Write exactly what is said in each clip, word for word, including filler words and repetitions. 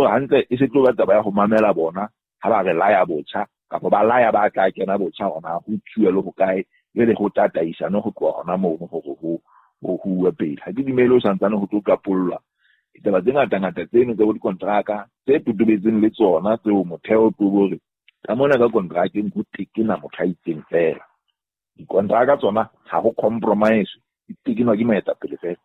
Ko hantle e se tlo ba taba ya ho mamela bona ha ba re laya botjha kapa ba laya ba tla kena botjha hona ho tsuwe le ho kae le ho tataisana ho tloha hona moo hore ho ho huwe pele. Ha ke dumele ho santsane ho tlo qapollwa ditaba tse ngata-ngata tseno tsa bo dikontraka tse totobetseng le tsona tseo motheo ke hore ka mona ka kontrakeng ho tekena motho a itseng feela. Dikontraka tsona ha ho compromise, di tekenwa ke moetapele feela.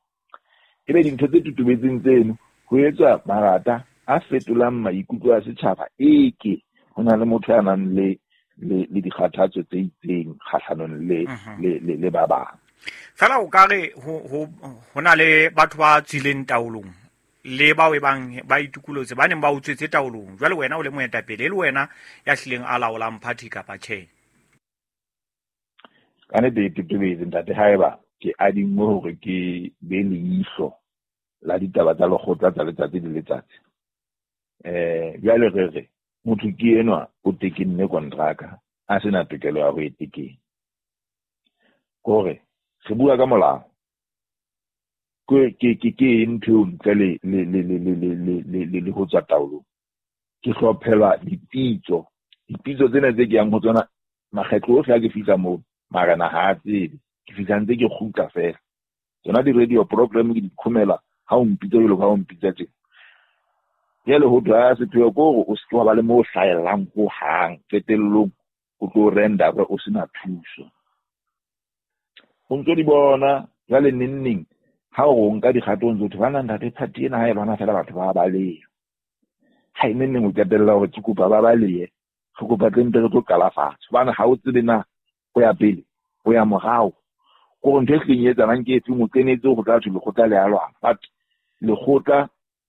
Ebe dintho tse totobetseng tseno ho etswa marata a fetolang maikutlo a setjhaba eke ho na le motho ya nang le le le dikgathatso tse itseng kgahlanong le le le le ba bang. Fela o ka re ho ho ho na le batho ba tswileng taolong le bao e bang ba itukulotse ba neng ba utswetse taolong. Jwale wena o le moetapele le wena ya hlileng a laolang party kapa tjhe? Ka nnete e totobetse ntate, haeba ke adinngwe hore ke be leihlo la ditaba tsa lekgotla tsa letsatsi le letsatsi. Eh jwale re re motho ke enwa o tekenne kontraka a sena tokelo ya ho e tekena. Kore re bua ka molao. Ke ke ke ke ntho eo ntle le le le le le le le le le le ho tswa taolong. Ke hlophelwa dipitso. Dipitso tsena tse ke yang ho tsona makgetlo ohle ha ke fihla moo marena ha a tsebe. Ke fihla ntse ke kgutla feela. Tsona di-radio program ke di khomela ha o mpitsa jwalo ka ha o mpitsa tje. Jwale ho thwe ha sepheo ke hore o se ke wa ba le moo o hlahellang hohang. Qetellong o tlo render o sena thuso. O ntso di bona jwale neng neng ha o nka dikgato o ntso thwe bana ntate party ena ha e lwana feela batho ba baleha. Ha e neng neng o qetella hore ke kopa ba balehe, re kopa tle mpe re tlo qala fatshe. Hobane ha o tsebe na o ya pele, o ya morao. Kore ntho e hlileng e etsahalang ke efeng, o kenetse ho tla thwe lekgotla le a lwana. But lekgotla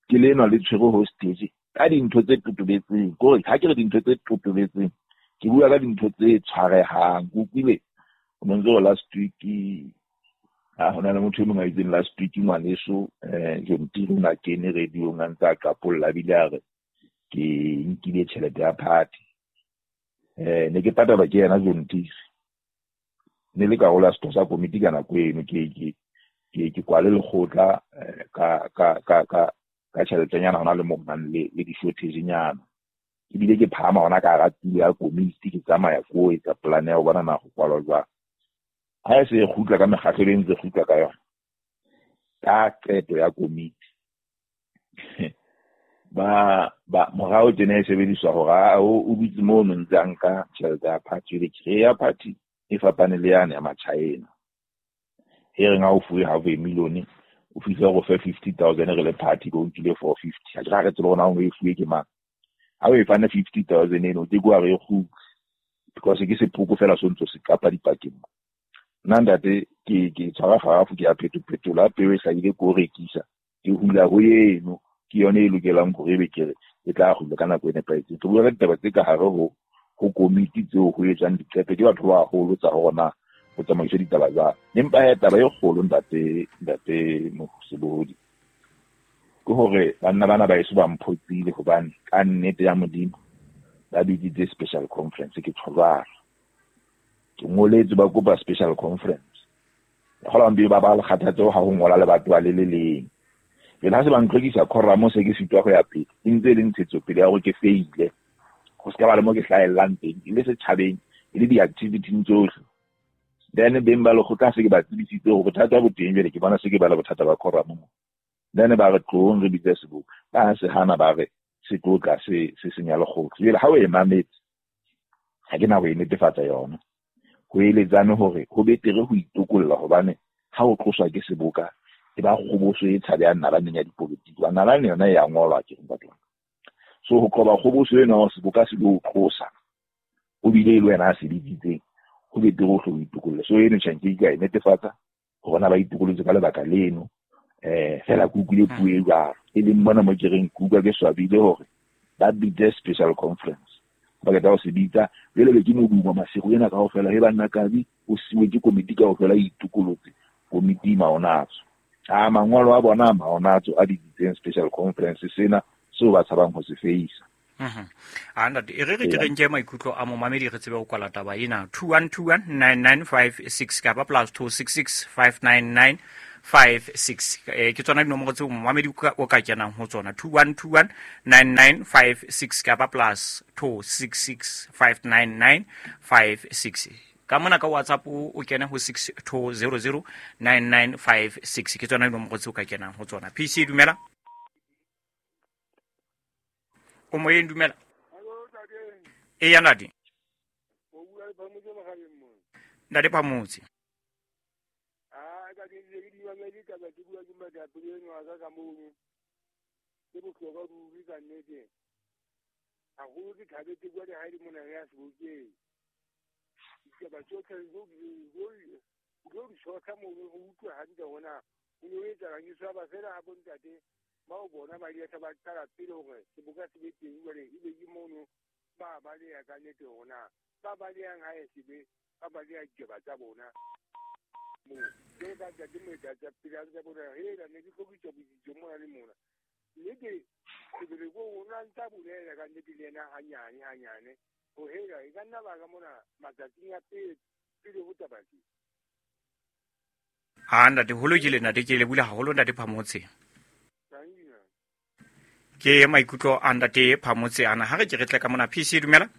ke lenwa le tshwerwe hostage ka dintho tse totobetseng. Kore ha ke re dintho tse totobetseng, ke bua ka dintho tse tshwarehang. Ke utlwile o no ntso re last week, ha hona le motho e mong a itseng last week ngwaneso, eh, John Tiri o na kene radio-ong a ntse a qapolla, a bile a re ke nkile tjhelete ya party. Eh, ne ke patalwa ke yena John Tiri. Ne le karolo ya setho sa komiti ka nako eno, ke, ke, ke, ke kwale lekgotla, eh, ka, ka, ka, ka, ka tjheletenyana hona le moo ho nang le, le di-shortage-nyana. Ebile ke phahama hona ka hara tulo ya komiti, ke tsamaya ko etsa plan ya ho bona na ho kwalwa jwang. Ha e se e kgutla ka mekgahlelo e ntse e kgutla ka yona, ka qeto ya komiti. Ba, ba, morao tjena e sebediswa hore a, o, o dutse mono ntse a nka tjhelete ya party, jwale ke re ya party e fapane le yane ya Machina. E reng ha o fuwe half a million, o fihle o fe fifty thousand re le party, bo nkile four fifty. Ha ke ra re tsebe hore na o e fuwe ke mang. Ha o e fane fifty thousand eno, o ke ke wa re e kgutle. Because ke sepoko fela se o ntso se qapa dipakeng. Nna ntate, ke, ke tshwara kgarafu, ke ya phetophetola, ha peo e hlahile ke o rekisa. Ke hula ho eno, ke yone e lokelang hore ebe ke re e tla kgutla ka nako e nepahetseng. Ke bua ka ditaba tse ka hare ho, ho komiti tseo ho etswang diqeto ke batho ba baholo tsa hore na ho tsamaiswe ditaba jwang. Empa he taba e kgolo ntate, ntate Mosebodi, ke hore banna bana ba eso ba mphoqile hobane ka nnete ya Modimo ba bitsitse special conference, ke tjho jwalo. Ke ngoletse ba kopa special conference. Ke kgolwa ba ba le kgathatso ha ho ngola le batho ba le le leng. Jwale ha se ba ntlhokisa quorum se ke sitwa ho ya pele, e ntse e le ntshetsopele ya hore ke feile. Ho se ka ba le mo ke hlahellang teng, e le setjhabeng, e le di-activity-ing tsohle. Then beng ba lekgotla se ke ba tsebisitse hore bothata bo teng, jwale ke bona se ke ba le bothata ba quorum mo. Then ba re tlohong re bitse seboka. Ba se hana ba re se tlo tla se, se senya lekgotla. Jwale ha o e mametse, ha ke na ho e netefatsa yona. Ho eletsane hore ho betere ho itokolla hobane ha o tloswa ke seboka e ba kgoboso e tshabehang nalaneng ya dipolotiki. Hobane nalane yona e a ngolwa ke ntate wa ka. So ho qoba kgoboso ena hore seboka se lo tlosa, o bile e le wena a se bitsitseng, ho betere o hle o itokolle. So eno tjhe nke ka e netefatsa hore na ba itokollotse ka lebaka leno. Eh, fela ke utlwile puo e jwalo. E leng mona mo ke reng ke utlwa ke swabile hore ba bitse special conference. Ba qeta ho se bitsa, jwale be ke modumo masigo ena kaofela, he banna Kabi o siwe ke komiti kaofela e itokolotse, komiti maonatso. A mangolo a bona maonatso a bitsitseng special conference sena seo ba tshabang ho se feisa. Mhm. A ntate, e re re ke re nke maikutlo a momamedi re tsebe ho kwala taba ena. two one two one nine nine five six kapa plus two six six five nine nine five six. Eh, ke tsona dinomoro tseo momamedi o ka kenang ho tsona, two one two one nine nine five six kapa plus two six six five nine nine five six. Ka mona ka WhatsApp o kene ho six two zero zero nine nine five six. Ke tsona dinomoro tseo ka kenang ho tsona. P C dumela. O moyeng dumela. E ya ntate. Ntate Phamotse. Ah, ka ke di di mamedi ka ba ke bua ke moetapele eno wa ka ka mono. Ke bohlokwa ruri ka nnete. Haholo ke thabetse bua le ha di mona ya sebokeng. Ditaba tsohle o tlo di tshotla mono ho utlwe hantle hore na ho no etsahalang. Ke swaba fela ha bontate bao bona ba ile ba qala pele hore seboka se be teng, jwale ebe ke mono ba baleha ka nnete hore na ba balehang ha e sebe ba baleha ditaba tsa bona. Moo jwalo ka ntate moetapele a ntse a bona hela ne ke hlokiswa botsitso mona le mona. Nnete sebele ko o na ntsa bolela ka nnete le yena hanyane hanyane ho hela e ka nna ba ka mona matsatsing a pele pele ho taba tse. Ha ntate ho lokile ntate, ke le bula haholo ntate Phamotse. Ke maikutlo a ntate Phamotse ana. Ha re ke re tle ka mona. P C dumela.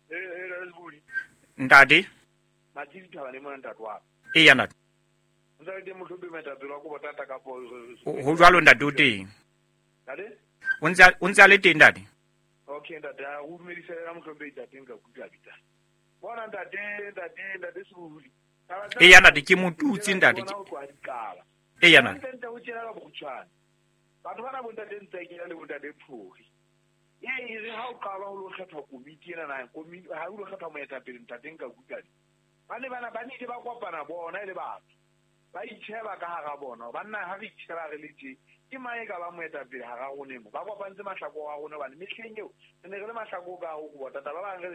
Eh eh Ntate. Matsi ditaba le mona ntate wa. E ya ntate. Ntate mohlompe moetapele wa Kobotata ka po. Ho jwalo ntate o teng. Ntate? O ntse o ntse a le teng ntate. Okay ntate, a o dumedisa la mohlompe ntate nka kutlwa bitsa. Bona ntate, ntate, ntate Sebohodi. E ya ntate ke motutsi ntate. E ya ntate. Ntate o tjena ka bokgutshwane. Batho bana bontate ntse ke le bontate Phori. E e re ha o qala ho lo kgetha komiti ena na komiti ha o lo kgetha moetapele ntate nka kutlwa. Ba ne bana ba nile ba kopana bona e le batho. Ba itjheba ka hara bona. Banna ha re itjheba re le tje. Ke mang e ka ba moetapele hara rona mo. Ba kopantse mahlako a rona bane mehleng eo re ne re le mahlako ka ho Kobotata. Ba bang re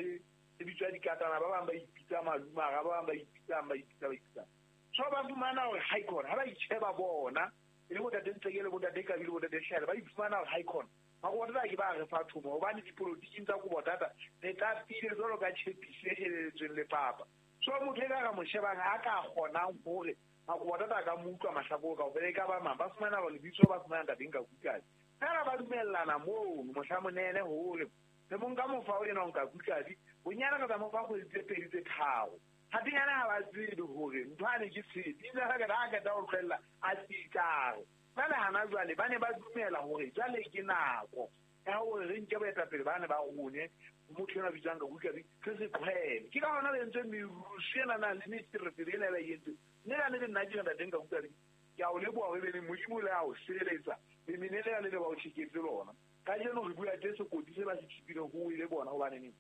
re bitswa dikatana, ba bang ba ipitsa malumara, ba bang ba ipitsa ba ipitsa ba ipitsa. So ba fumana hore ha ikona ha ba itjheba bona e le bontate Ntseke le bontate Kabi le bontate Hlele ba iphumana hore ha ikona Makobotata ke ba re fa thomo hobane dipolotiking tsa Kobotata re tapile jwalo ka tjhepisi e heleletsweng le papa. So motho e ka re mo shebang a ka kgonang hore Makobotata a ka mo utlwa mahlakore kaofela e ka ba mang ba fumana hore lebitso ba fumana ntate nka kutlwane. Fela ba dumellana mono mohla monene hore re mo nka mofa o ena o nka kutlwane bonyane re tla mo fa kgwedi tse pedi tse tharo. Hapenyana ha ba tsebe hore ntho ane ke tshepe ebile ha ka ha qeta ho tlohella a tsitsare. Jwale hana jwale ba ne ba dumela hore jwale ke nako ya hore re nke boetapele ba ne ba rone motho ena bitswang ka kutlwane re se tlohele. Ke ka hona re entse merusu ena nang le meferefere ena e ba e entseng. Mme ka nnete nna ke ntate nka kutlwane ke a o leboha hore ebe Modimo le a o sireletsa lemene lena le le ba o tjheketse lona. Kajeno re bua tje sekoti se ba se tjhipileng ho ile bona hobane neng.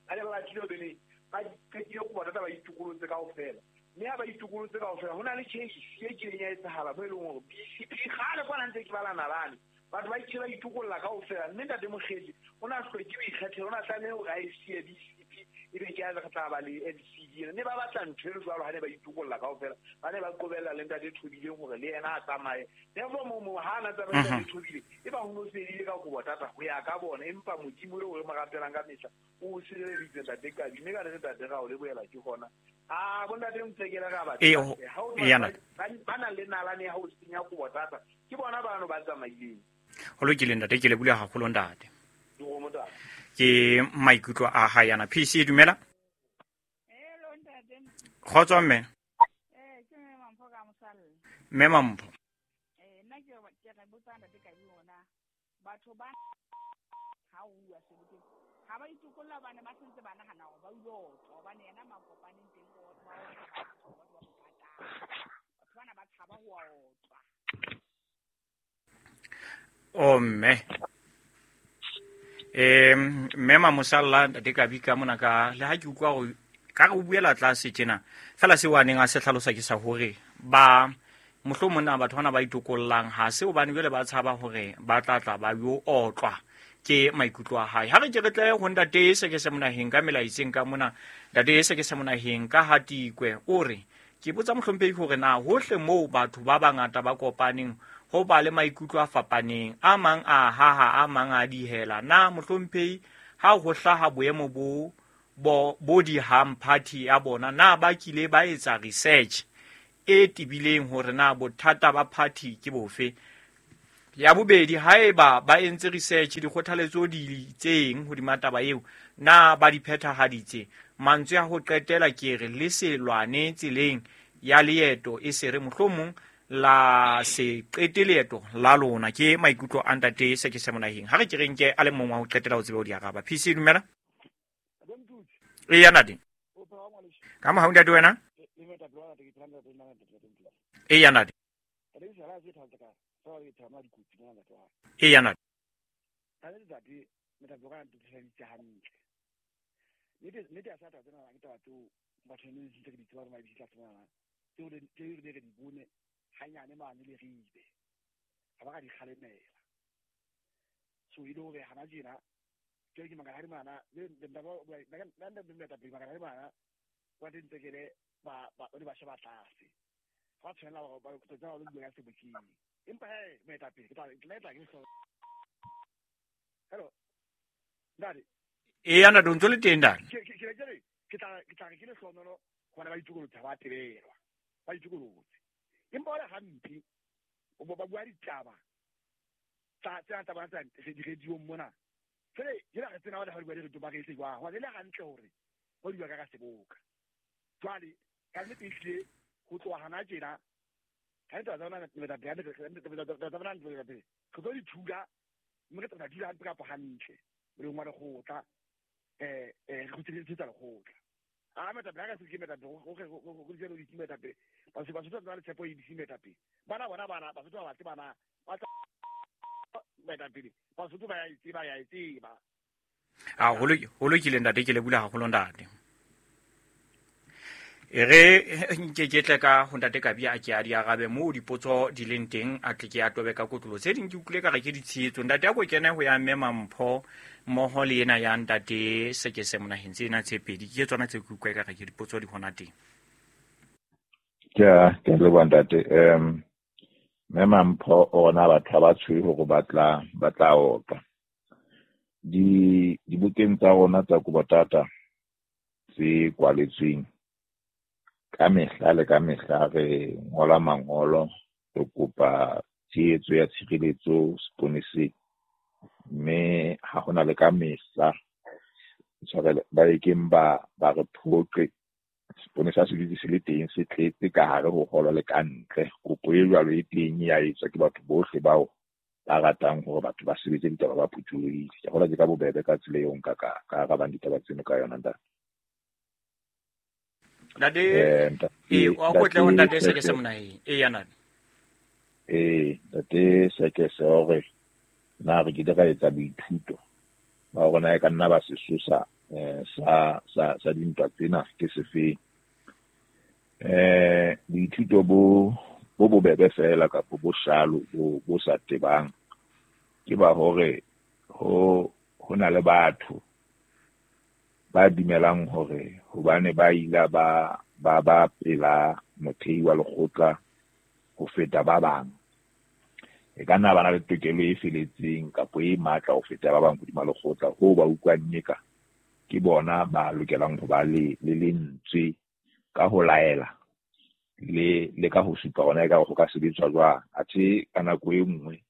Ba ne ba batlile ho bene ba qetile Kobotata ba itokolotse kaofela. Mme ha ba itokolotse kaofela ho na le case e kileng ya etsahala mo e leng hore B C P kgale kwana ntse ke bala nalane. Batho ba ile ba itokolla kaofela mme ntate Mokgele o na hloke ho ikgethela, o na tlameha hore a e siye B C P ebe ke a re tla ba le N C D. Mme ba batla ntho e jwalo ha ne ba itokolla kaofela ba ne ba qobella le ntate Thobile hore le yena a tsamaye. Therefore mo mo ha na tsamaye ntate Thobile e ba ho no fedile ka Kobotata ho ya ka bona, empa Modimo eo re mo rapelang ka mehla o sireleditse ntate Kabi. Mme ka re ntate ra o lebohela ke hona. Ah bontate Ntsekele ra ba ba na le nalane ya ho senya Kobotata ke bona bano ba tsamaileng. Ho lokile ntate, ke le bula haholo ntate. Ke maikutlo a hae ana. P C dumela. Hello ntate. Kgotso mme. Eh ke mme Mampho ka Mosalla. Mme Mampho. Eh nna ke ke re botsa ntate Kabi hona batho ba ha o bua sebokeng ha ba itokolla bana ba sentse ba nahana hore ba ulo otlwa hobane yena makopaneng teng o ba o batho ba mo patala. Batho bana ba tshaba ho otlwa. O mme. Eh mme Mamosalla ntate Kabi ka mona ka le ha ke utlwa hore ka re o buela tlase tjena fela seo a neng a se hlalosa ke sa hore ba mohlomong na batho bana ba itokollang ha se hobane jwale ba tshaba hore ba tla tla ba yo otlwa ke maikutlo a hae. Ha re ke re tle ho ntate se ke se monaheng ka melaetseng ka mona ntate se ke se monaheng ka Hatikwe o re ke botsa mohlomphehi hore na hohle moo batho ba bangata ba kopaneng ho ba le maikutlo a fapaneng a mang a haha a mang a dihela na mohlomphehi ha ho hlaha boemo bo bo bo dihang party ya bona na ba kile ba etsa research e tebileng hore na bothata ba party ke bofe. Ya bobedi, haeba ba entse research dikgothaletso di itseng hodima taba eo, na ba di phethahaditse? Mantswe a ho qetela ke re le se lwane tseleng ya leeto, e se re mohlomong la se qete leeto la lona. Ke maikutlo a ntate Sekese Monaheng. Ha re ke re nke a le mong wa ho qetela ho tsebe ho di araba. P C, dumela. Eya ntate. Ka mohau ntate wena? Eya ntate. Eya ntate. Hanyane mane le ribe ha ba ka di kgalemela. So ile hore hana tjena ke ke mangala mana le nda ba nna nna nna pele mangala mana wa dintsekele ba ba ba sheba tlase ba tshwanela hore ba tsa ba bua ka sebokeng. Empa he moetapele ke tla ke tla ke hlo. Hello ntate. Eya ntate, o ntso le teng ntate. Ke ke ke ke tla ke tla ke le hlonolo hobane ba itokolotse ba tebelwa ba itokolotse. Empa wala hampe o ba bua ditaba tsa tsa taba tsa di-radio mona fele ke la re tsena ba bua di-radio ba re itse jwang hobane le hantle hore ho di bua ka ka seboka. Jwale ka nnete ehlile ho tloha hana tjena ka nnete tsa bona tsa bona re tlo di thula mme re tla dula hampe kapa hantle moleng wa lekgotla eh eh re kgutlisetsa lekgotla. A metapele ha ka se ke metapele go go go jelo di metapele ba se ba se tla le tshepo e di metapele bana bona bana ba se ba batle bana ba tla metapele ba se ba ya itse ba ya itse ba a ho lo lokile ntate, ke le bula haholo ntate. E re nke ke tle ka ho ntate Kabi a ke a di arabe moo dipotso di leng teng, a tle ke a tobe ka kotlolo. Tse ding ke utlwile ka re ke ditshehetso. Ntate a ko kene ho ya mme Mampho mmoho le ena ya ntate Sekese Monaheng, tsena tse pedi ke tsona tse ke utlwa ka re ke dipotso di hona teng. Ke a ke a leboha ntate. Um mme Mampho ona batho ba tshwere hore ba tla ba tla oka di dibukeng tsa rona tsa Kobotata tse kwaletsweng. Ka mehla le ka mehla re ngola mangolo re kopa tshehetso ya tshireletso seponeseng, mme ha hona le ka mehla tshwarelo ba ekeng ba ba re phoqe. Seponesa se dutse se le teng, se tletse ka hare ho holo le ka ntle. Kopo e jwalo e teng ya etswa ke batho bohle bao ba ratang hore batho ba sebetse ditaba ba phuthulohile. Ke kgolwa ke ka bobebe ka tsela eo nka ka ka arabang ditaba tseno ka yona ntate. Ntate e o go tle ho ntate Sekese Monaheng. Eya ntate. Eh ntate Sekese hore na re ke ka etsa boithuto ba rona e ka nna ba sesosa eh sa sa sa dintwa tsena ke sefeng. Eh boithuto bo bo bobebe fela kapa bo shalo bo bo sa tebang ke ba hore ho ho na le batho ba dumelang hore hobane ba ila ba ba ba pela mothei wa lekgotla ho feta ba bang, e ka nna ba na le tokelo e feletseng kapa e matla ho feta ba bang hodima lekgotla, ho ba utlwang eka ke bona ba lokelang ho ba le le lentswe ka ho laela le le ka ho supa hona e ka ho ka sebetswa jwang. Athe ka nako e nngwe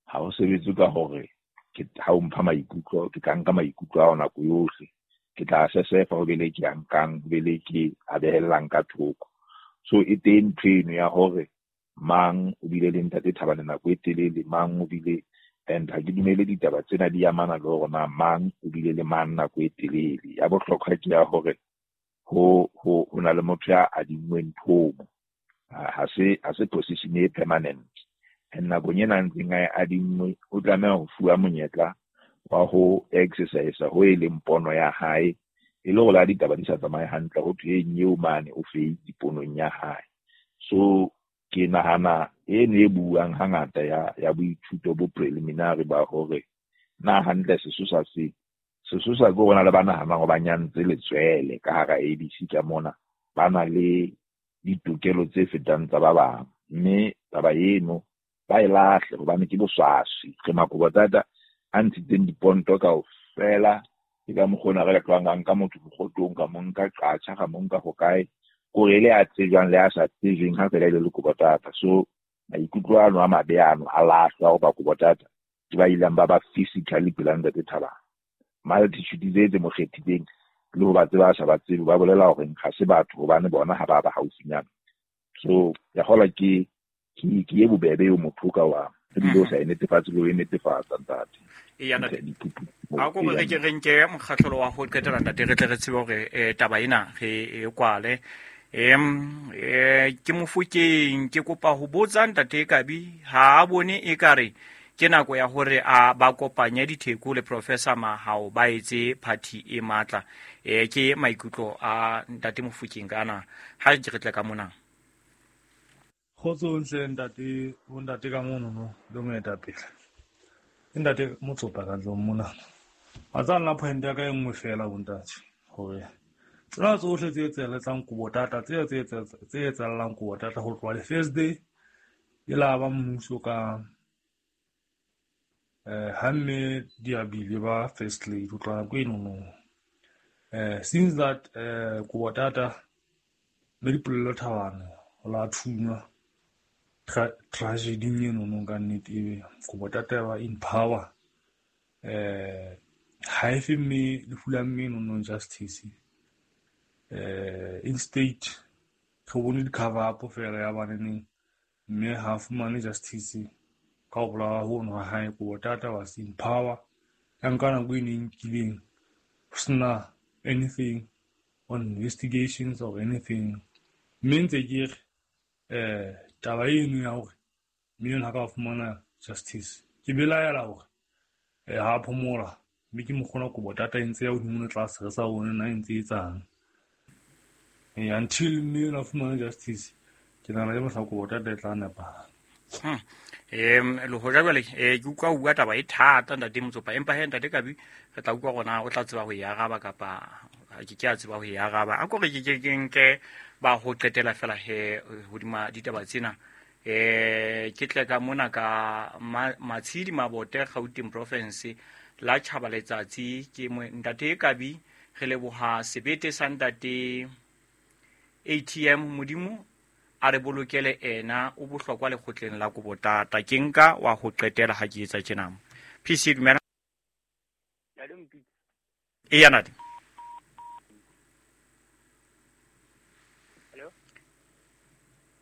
ha ho sebetswe ka hore ke ha o mpha maikutlo ke tla nka maikutlo ao nako yohle, ke tla sesefa ho bele ke a nkang, ho bele ke a behellang ka thoko. So e teng ntho eno ya hore mang o bile le ntate Thabane nako e telele, mang o bile, and ha ke dumele ditaba tsena di amana le hore na mang o bile le mang nako e telele. Ya bohlokwa ke ya hore ho ho ho na le motho ya adinngweng thomo, ha se ha se position e permanent. And nakong ena a ntseng a e adinngwe o tlameha ho fuwa monyetla wa ho exercise ho e leng pono ya hae, e le hore la ditaba di sa tsamaye hantle ho thwe eo mane o feitse ponong ya hae. So ke nahana eno e buang hangata ya ya boithuto bo preliminary ba hore na hantle sesosa se sesosa ke hore na le ba nahanang hore ba nyantse letswele ka hara A B C ka mona, ba na le ditokelo tse fetang tsa ba bang, mme taba eno ba e lahle hobane ke boswaswi. Re Makobotata a ntshitseng diponto kaofela, ke ka mokgwa ona re tlohang ka nka motho mokgotong, ka mo nka Qacha, ka mo nka hokae, Kore le a tsejwang le a sa tsejweng ha fela e le Lekobotata. So maikutlo ano a mabe ano a lahlwa ho ba Kobotata ke ba ileng ba ba physically pela ntate Thabane. Multitude tse tse mo kgethileng le ho ba tseba sa ba tsebe ba bolela hore ha se batho hobane bona ha ba ba haufinyana. So ya hola ke ke ke e bobebe eo motho ka wa ebile o sa e netefatse le ho e netefatsa ntate. Eya ntate. A ko re ke re nke mokgahlelo wa ho qetela ntate re tle re tsebe hore eh, taba ena re e kwale. Em eh ke Mofokeng ke kopa ho botsa ntate Kabi ha a bone ekare ke nako ya hore a ba kopanye ditheko le Professor Mahao ba etse party e matla. Eh ke maikutlo a ntate Mofokeng kana ha ke re tle ka mona. Kgotso ntle ntate, bo ntate ka mono no le moetapele. Ke ntate Motsopa ka tlong mona. Wa tseba nna point ya ka e nngwe fela bo ntate hore tsena tsohle tse etsahalang Kobotata tse tse tse etsahalang Kobotata ho tloha le first day e la ba mmuso ka eh ha mme Diabile ba first lady ho tloha nako eno no. Eh since that eh Kobotata mme Dipolelo Thabane ho la thunywa tragedy eno no ka nnete ebe Kobotata ba in power eh ha e fe mme lefu la mme eno no justice eh in state re bone di-cover up fela ya baneneng mme ha fumane justice ka ho bolawa hono ha hae. Kobotata was in power ya nka nako e neng nkileng ho sena anything on investigations or anything. Mme ntse ke re eh taba eno ya hore mme eno ha ka fumana justice ke belaela hore eh ha phomola mme ke mokgona Kobotata e ntse ya hodimo le tlase re sa bone na e ntse e etsang. Eh until mme eno a fumana justice ke nahana ke mohla Kobotata e tla nepahala. Hmm. Em le hoja jwale eh ke utlwa o bua taba e thata ntate Motsopa empa he ntate Kabi re tla utlwa rona o tla tseba ho e araba kapa ke ke a tseba ho e araba. A ko re ke ke nke ba ho qetela fela he hodima ditaba tsena. Eh ke tle ka mona ka Matshidi Mabote Gauteng Province la Tjhaba Letsatsi ke ntate Kabi re leboha sebete sa ntate A T M Modimo a re bolokele ena o bohlokwa lekgotleng la Kobotata. Ke nka wa ho qetela ha ke etsa tjena. P C dumela. Eya ntate.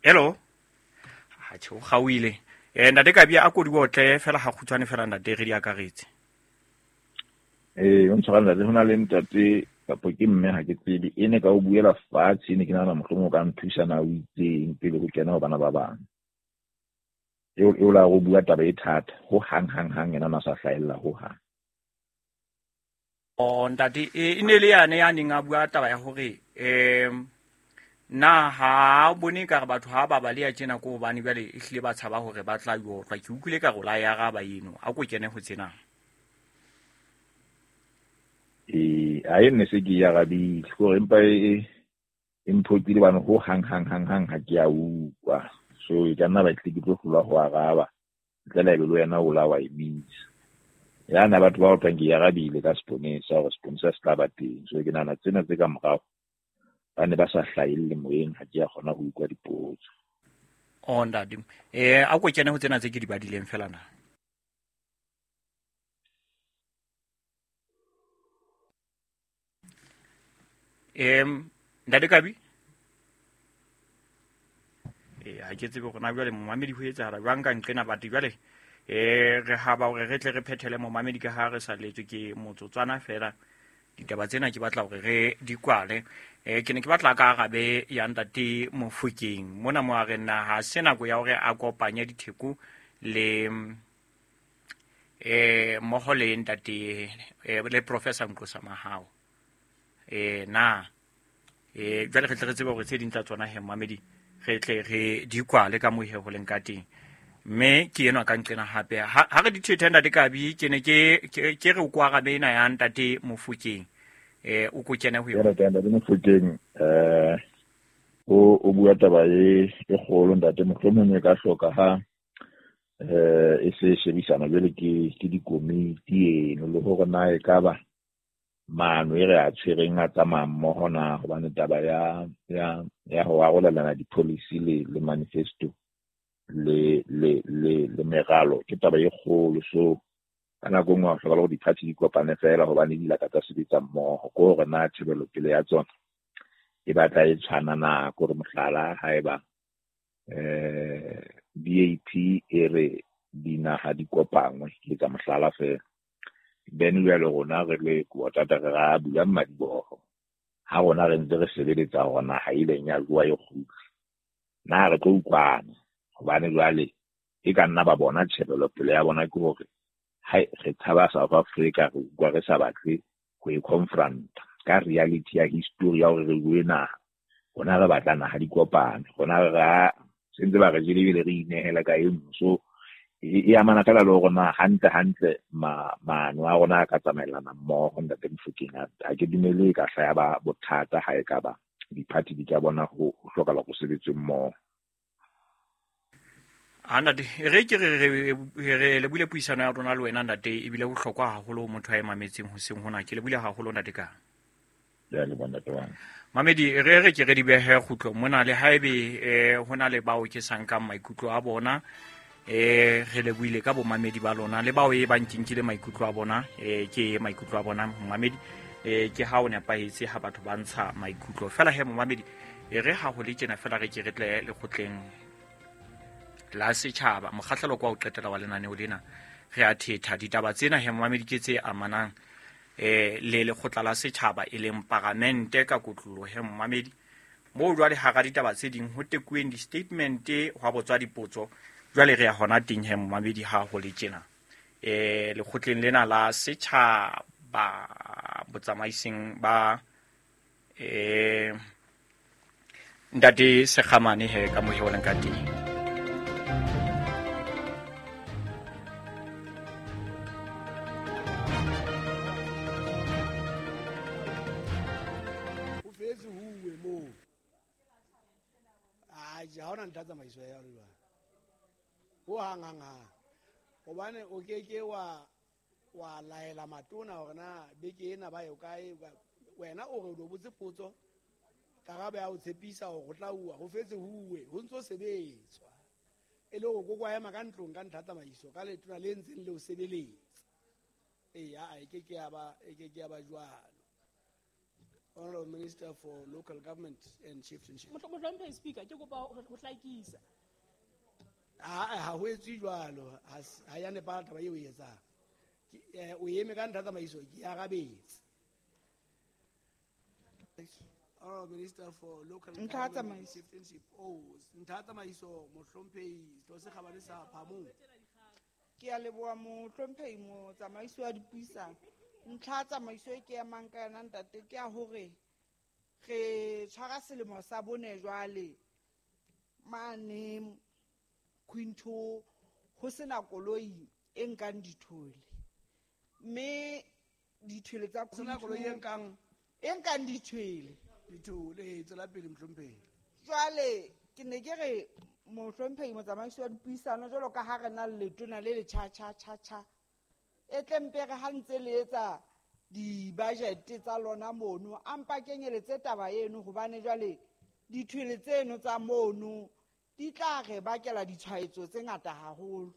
Hello. Ha tjho gauile. Eh ntate Kabi a kodiwa otle fela ha kgutshwane fela ntate re di akaretse. Eh o ntshwara ntate hona le ntate kapo ke mme ha ke tsebe e ne ka o buela fatshe ne ke nahana mohlomong o ka nthusa na o itseng pele ho kena ho bana ba bang. Eo eo la go bua taba e thata ho hang hang hang yena na sa hlahella ho hang. O ntate e ne le yane ya neng a bua taba ya hore em na ha bone ka re batho ha ba baleya tjena ko hobane jwale e hlile ba tshaba hore ba tla yotlwa. Ke utlwile ka re la ya araba eno a ko kene ho tsena. Eh a e ne se ke ya arabile gore empa e e mphotile bana ho hang hang hang hang ha ke a utlwa. So e ka nna ba tle ke tlo hlolwa ho araba ntle le ebe le wena o la wa e misa. Ya na batho ba otlwang ke ya arabile ka seponesa hore seponesa se tla ba teng. So ke nahana tsena tse ka morao ba ne ba sa hlahelle moyeng ha ke a kgona ho utlwa dipotso. O ntate eh a ko kene ho tsena tse ke di badileng fela na. Em ntate Kabi eh ha ke tsebe hore na jwale momamedi ho etsahala jwang ka nqena batho jwale eh re ha ba hore re tle re phethele momamedi ka ha re sa letswe ke motsotswana fela. Ditaba tsena ke batla hore re di kwale. Eh ke ne ke batla ka arabe ya ntate Mofokeng mona mo a re na ha se nako ya hore a kopanye ditheko le eh mmoho le ntate le Professor Nqosa Mahao. Eh na eh jwale re tle re tsebe hore tse ding tsa tsona he momamedi re tle re di kwale ka mohe ho leng ka teng. Mme ke enwa ka nqena hape ha re di thethe ntate Kabi ke ne ke ke re o ko arabe ena ya ntate Mofokeng eh o ko kene ho yona. Ntate Mofokeng eh o o bua taba e e kgolo ntate mohlomong e ka hloka ha eh e se shebisana jwale ke ke dikomiti eno le hore na e ka ba Maano e re a tshwereng a tsamaya mmoho na, hobane taba ya ya ya ho arolelana di-policy le le manifesto le le le le meralo ke taba e kgolo. So ka nako e nngwe ha o hloka hore di-party di kopane fela hobane di laka tsa sebetsa mmoho, ke hore na tjhebelopele ya tsona e batla e tshwana na. Ke hore mohlala haeba eh B A P e re dinaha di kopangwe, ke etsa mohlala fela, then jwale rona re le Kotata re ra bula madiboho ha rona re ntse re sebeletsa hore naha e ileng ya jowa e kgutle, na re tlo utlwana? Hobane jwale e ka nna ba bona tjhebelopele ya bona ke hore hai re tshaba South Africa, re utlwa re sa batle ho e confront ka reality ya history ya hore re bue naha, rona re batla naha di kopane, rona re ra sentse ba re jele ebile re inehela ka e nngwe. So e amana fela le hore na hantle hantle maano a rona a ka tsamaelana mmoho. Ntate Mofokeng, ha ke dumele e ka hlaya ba bothata ha e ka ba di-party di ka bona ho hlokahala ho sebetswe mmoho. A ntate, re ke re re le buile puisano ya rona le wena ntate, ebile bohlokwa haholo motho a e mametseng hoseng hona. Ke le buile haholo ntate ka. Ya le bona ntate wa. Mamedi, re re ke re di behe kgutlo mona le haebe eh hona le bao ke sa nkang maikutlo a bona, eh re le buile ka bomamedi ba lona le bao e ba nkinkile maikutlo a bona, eh ke maikutlo a bona momamedi, eh ke ha o nepahetse ha batho ba ntsha maikutlo fela. He momamedi, e re ha ho le tjena fela re ke re tle lekgotleng la setjhaba mokgahlelo kwa o qetela wa lenaneo lena, re a thetha ditaba tsena he momamedi ke tse amanang eh le lekgotla la setjhaba e leng paramente ka kotloloho. He momamedi, moo jwale hara ditaba tse ding ho tekuweng di-statement hwa botswa dipotso, jwale re ya hona teng he momamedi ha ho le tjena eh lekgotleng lena la setjhaba botsamaising ba eh ntate Sekgamane he ka mohe o leng ka teng. O fetse huwe moo. Ai, ha ona ntha tsamaiso ya rona. Ho hang hang hang. Hobane o ke ke wa wa laela matona hore na beke ena ba yo kae, wena o re o botse potso, karabo ya o tshepisa hore ho tla uwa, ho fetse huwe, ho ntso sebetswa. E le hore koko a ema ka ntlong ka ntha tsamaiso ka letona le ntseng le o sebeletsa. Eya, e ke ke ya ba e ke ke ya ba jwalo. Honorable Minister for Local Government and Chieftainship. Mohlomphehi Speaker, ke kopa ho hlakisa. Ha ha ho etswe jwalo, ha ya nepahala taba eo e etsang. O eme ka ntha tsamaiso ke arabetse. Honorable Minister for Local Government and Chieftainship. Oh, ntha tsamaiso mohlomphehi Tlose sa Phamong. Ke a leboha mohlomphehi motsamaisi wa dipuisano. Ntlha tsamaiso e ke emang ka yona ntate ke ya hore re tshwara selemo sa bone jwale mane Quinto ho sena koloi e nkang dithole, mme dithole tsa sena koloi e nkang e nkang dithole dithole tsela pele mohlomphehi. Jwale ke ne ke re mohlomphehi motsamaisi wa dipuisano, jwalo ka ha re na le letona le le cha cha cha cha, e tle mpe re ha ntse le etsa di-budget tsa lona mono, a mpa kenyeletse taba eno, hobane jwale dithwele tseno tsa mono di tla re bakela ditshwaetso tse ngata haholo.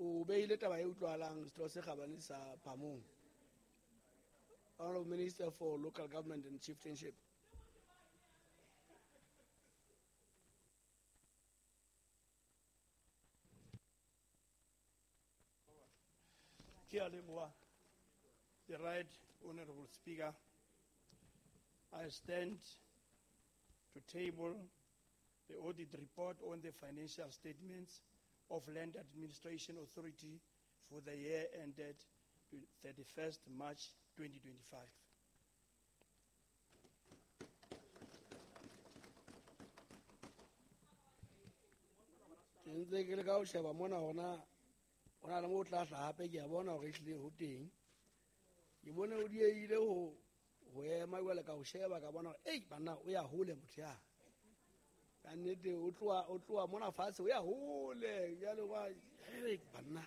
O beile taba e utlwahalang Setho se Kgabane sa Phamong. Honorable Minister for Local Government and Chieftainship. The Right Honorable Speaker, I stand to table the audit report on the financial statements of Land Administration Authority for the year ended thirty-first March twenty twenty-five. Ke ntse ke leka ho sheba mona hore na ho na le moo o tla hlaha hape, ke a bona hore ehlile ho teng. Ke bone o diehile ho ho ema jwale ka ho sheba, ka bona hore ei banna o ya hole motho ya. Ka nnete o tloha o tloha mona fatshe o ya hole jwale wa banna.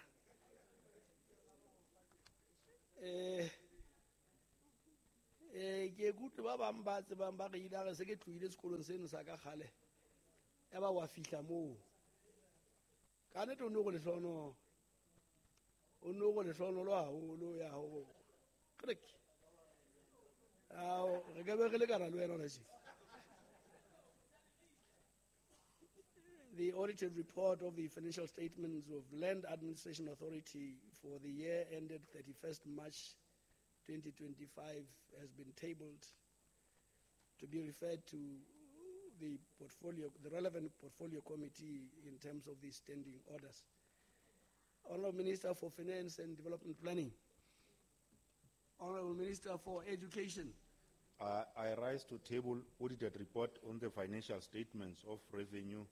Eh eh ke kutlwe ba bang ba tsebang ba re ile re se ke tlohile sekolong seno sa ka kgale. Ya ba wa fihla moo. Ka nnete o no go lehlono. O no go lehlono haholo ya ho. Krek. Ao re ka be re lekana le wena hona tje. The audited report of the financial statements of Land Administration Authority for the year ended thirty-first March twenty twenty-five has been tabled to be referred to the portfolio, the relevant portfolio committee in terms of the standing orders. Honorable Minister for Finance and Development Planning. Honorable Minister for Education. Uh, I rise to table audited report on the financial statements of Revenue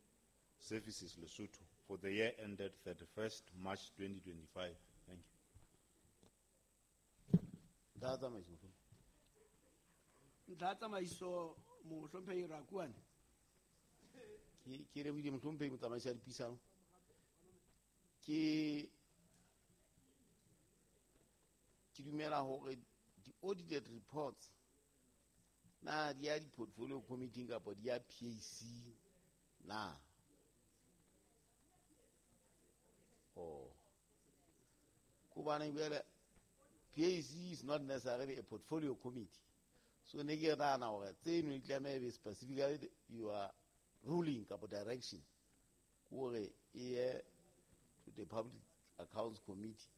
Services Lesotho for the year ended thirty-first March twenty twenty-five. Thank you. Ntlha tsamaiso, mohlomphehi. Ntlha tsamaiso, mohlomphehi Rakuane. Ke ke lebohile mohlomphehi motsamaisi wa dipuisano. Ke ke dumela hore di-audited reports na di ya di-portfolio committee kapa di ya P A C na? Oh. Kobane jwale P A C is not necessarily a portfolio committee. So ne ke nahana hore tseno di tlameha be specifically your ruling kapa direction hore e ye to the Public Accounts Committee.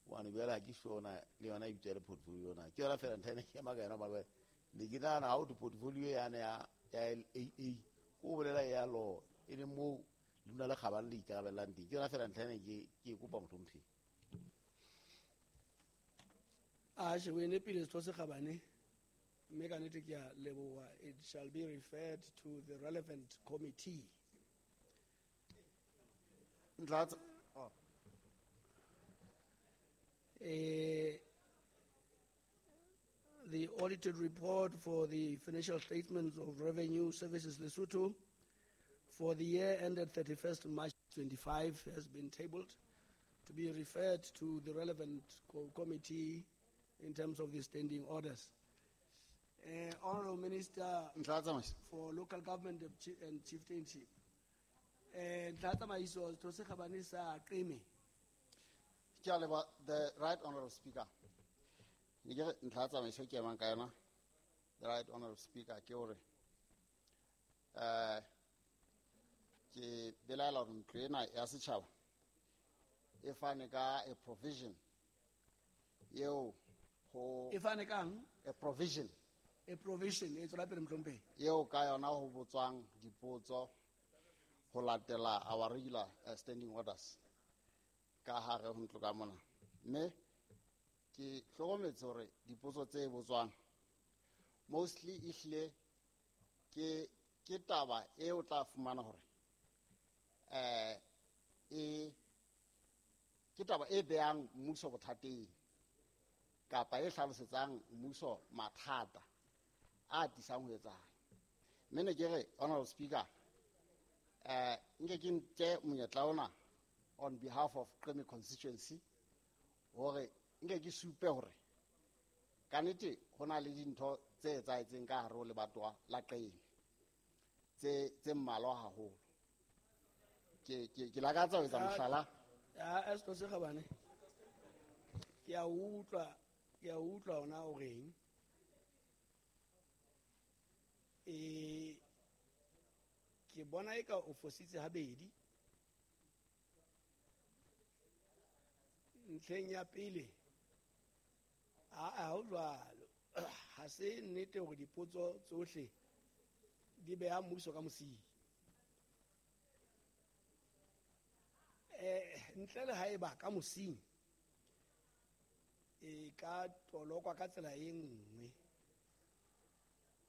Hobane jwale ha ke sure na le yona e bitswa le portfolio na. Ke yona feela ntho ena ke ema ka yona hobane ne ke nahana ha ho thwe portfolio yane ya, ya L A A, ko bolela ya law, e leng moo lona le kgabane le ikarabellang teng. Ke yona feela ntlha ena ke, ke e kopa mohlomphehi. Atjhe, o e nepile setho se kgabane. Mme ka nnete ke a leboha. It shall be referred to the relevant committee. Ntlha tsa- oh. Eh, the audited report for the financial statements of Revenue Services Lesotho for the year ended thirty-first March twenty-five has been tabled to be referred to the relevant co- committee in terms of the standing orders. Uh, Honorable Minister Ntlha tsamaiso. for Local Government and Chi-, and Chieftainship. Eh, Ntlha tsamaiso, setho se kgabane sa Qeme. Ke a leboha, the Right Honorable Speaker. Ne ke re ntlha tsamaiso ke emang ka yona, the Right Honorable Speaker, ke hore, eh, ke belaela hore ntlo ena ya setjhaba e fane ka a provision eo ho E fane kang? A provision. A provision, e tswela pele mohlomphehi. Eo ka yona ho botswang dipotso ho latela our regular, uh, standing orders ka hare ho ntlo ka mona. Mme ke hlokometse hore dipotso tse botswang mostly ehlile ke, ke taba e o tla fumana hore, eh, e, ke taba e behang mmuso bothateng kapa e hlalosetsang mmuso mathata a tisang ho etsahala. Mme ne ke re, Honorable Speaker, eh, nke ke nke monyetla ona on behalf of Qeme constituency hore nke ke supe hore ka nnete ho na le dintho tse etsahetseng ka hare ho lebatowa la Qeme tse, tse mmalwa haholo. Ke, ke, ke lakatsa ho etsa mohlala. Ya, a setho se kgabane. Ke a utlwa, ke a utlwa hona o reng. Eh, ke bona eka o fositse habedi. Ntlheng ya pele, a, a ho jwalo. Ha se nnete hore dipotso tsohle di beha mmuso ka mosing. Eh, ntle le haeba ka mosing e ka tolokwa ka tsela e nngwe.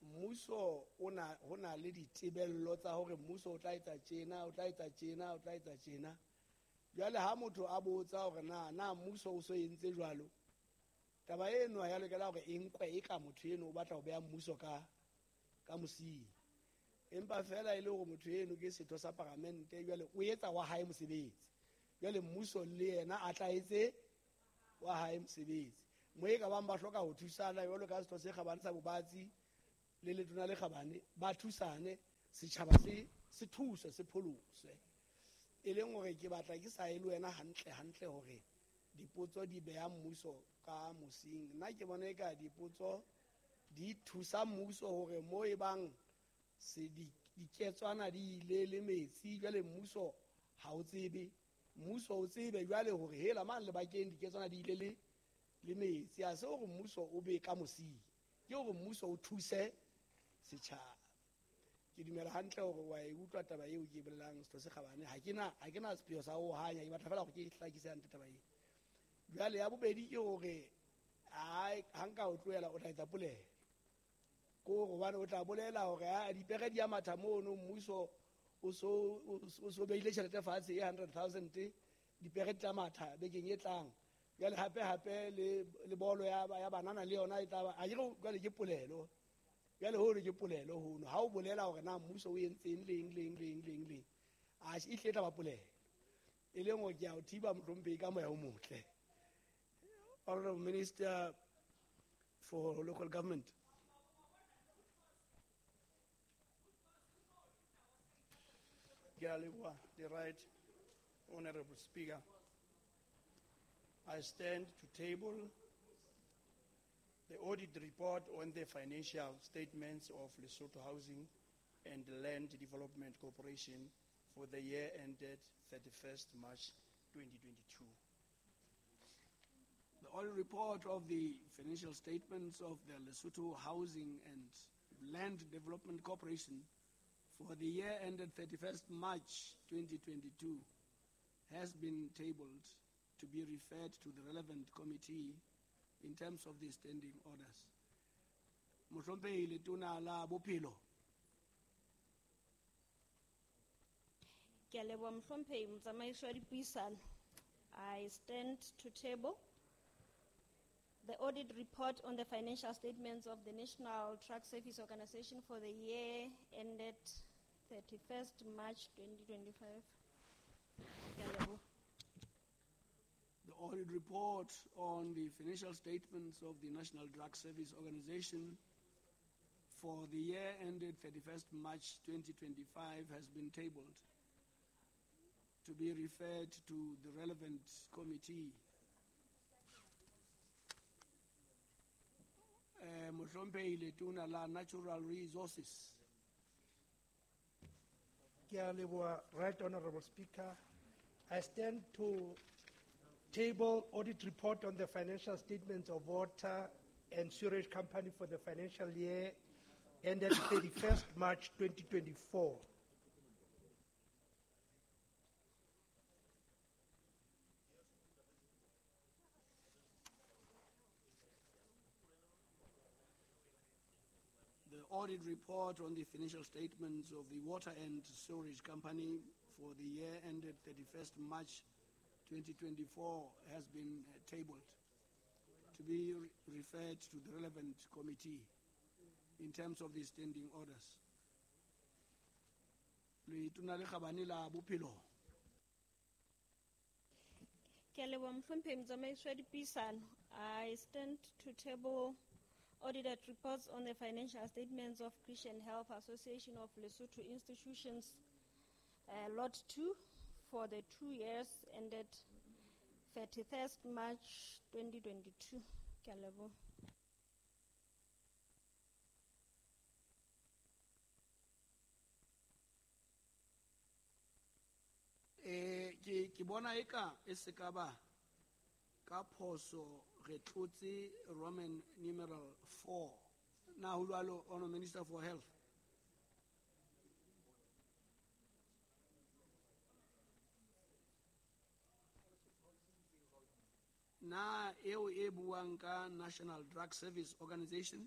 Mmuso o na, ho na le ditebello tsa hore mmuso o tla etsa tjena, o tla etsa tjena, o tla etsa tjena. Jwale ha motho a botsa hore na, na mmuso o so entse jwalo, taba eno ha ya lokela hore e nkwe e ka motho eno o batla ho beha mmuso ka, ka mosing. Empa fela e le hore motho eno ke setho sa paramente, jwale o etsa wa hae mosebetsi. Jwale mmuso le yena a tla etse wa hae mosebetsi. Mo e ka bang ba hloka ho thusana jwalo ka setho se kgabane sa Bobatsi le letona le kgabane, ba thusane, setjhaba se se thuswe, se pholoswe. E leng hore ke batla ke sa e le wena hantle hantle hore dipotso di beha mmuso ka mosing. Nna ke bona eka dipotso di thusa mmuso hore mo e bang se di diketswana di ile le metsi, jwale mmuso ha o tsebe, mmuso o tsebe jwale hore hela mang lebakeng diketswana di ile le le metsi. Ha se hore mmuso o be ka mosing, ke hore mmuso o thuse setjhaba. Ke dumela hantle hore wa e utlwa taba eo ke e bolelang, setho se kgabane. Ha ke na, ha ke na sepheo sa ho hanya, ke batla fela hore ke hlakise hantle taba eo. Jwale ya bobedi ke hore ha ha nka o tlohela o tla etsa polelo. Ko hobane o tla bolela hore ha dipere di a matha mono, mmuso o so, o so beile tjhelete fatshe e hundred thousand, dipere di tla matha bekeng e tlang. Jwale hape hape le, le bolo ya, ya banana le yona e tla ba, a ke re jwale ke polelo. Jwale hono ke polelo hono. Ha o bolela hore na mmuso o entseng leng, leng, leng, leng, leng, a e hle e tla ba polelo. E leng hore ke a o thiba mohlomphehi ka moya o motle. Honorable Minister for Local Government. Ke a leboha, the Right Honorable Speaker. I stand to table the audit report on the financial statements of Lesotho Housing and Land Development Corporation for the year ended thirty-first March twenty twenty-two. The audit report of the financial statements of the Lesotho Housing and Land Development Corporation for the year ended thirty-first March twenty twenty-two has been tabled to be referred to the relevant committee in terms of the standing orders. Mohlomphehi Letona la Bophelo. Ke a leboha mohlomphehi motsamaisi wa dipuisano. I stand to table the audit report on the financial statements of the National Drug Service Organization for the year ended thirty-first March twenty twenty-five. Ke a leboha. The audit report on the financial statements of the National Drug Service Organization for the year ended thirty-first March twenty twenty-five has been tabled to be referred to the relevant committee. Eh, Mohlomphehi Letona la Natural Resources. Ke a leboha, Right Honorable Speaker. I stand to table audit report on the financial statements of Water and Sewerage Company for the financial year ended thirty-first March twenty twenty-four. The audit report on the financial statements of the Water and Sewerage Company for the year ended thirty-first March twenty twenty-four has been, uh, tabled to be re- referred to the relevant committee in terms of the standing orders. Letona le kgabane la Bophelo. Ke a leboha mohlomphehi motsamaisi wa dipuisano. I stand to table audited reports on the financial statements of Christian Health Association of Lesotho Institutions, uh, Lot two, for the two years ended thirty-first March twenty twenty-two. Ke a leboha. Eh, ke, ke bona eka e se ka ba ka phoso re tlotse Roman numeral four. Na ho jwalo, Honorable Minister for Health? Na eo e buang ka National Drug Service Organization?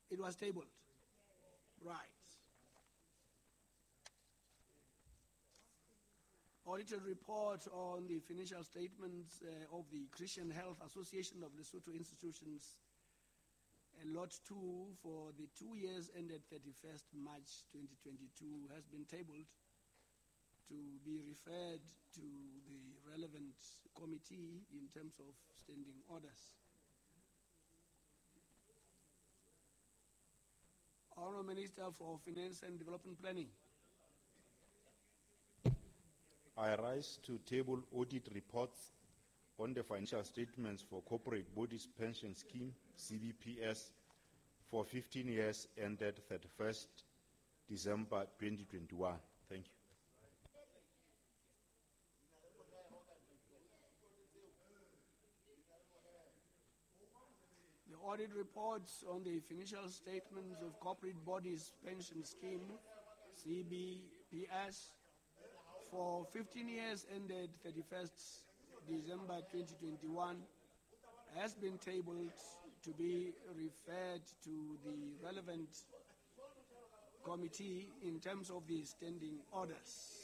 It was tabled. Right. Audited report on the financial statements, uh, of the Christian Health Association of Lesotho Institutions, Lot two for the two years ended thirty-first March twenty twenty-two has been tabled to be referred to the relevant committee in terms of standing orders. Honourable Minister for Finance and Development Planning. I rise to table audit reports on the financial statements for Corporate Bodies Pension Scheme, C B P S, for fifteen years ended thirty-first December twenty twenty-one. Thank you. The audit reports on the financial statements of Corporate Bodies Pension Scheme, C B P S, for fifteen years ended thirty-first December twenty twenty-one has been tabled to be referred to the relevant committee in terms of the standing orders.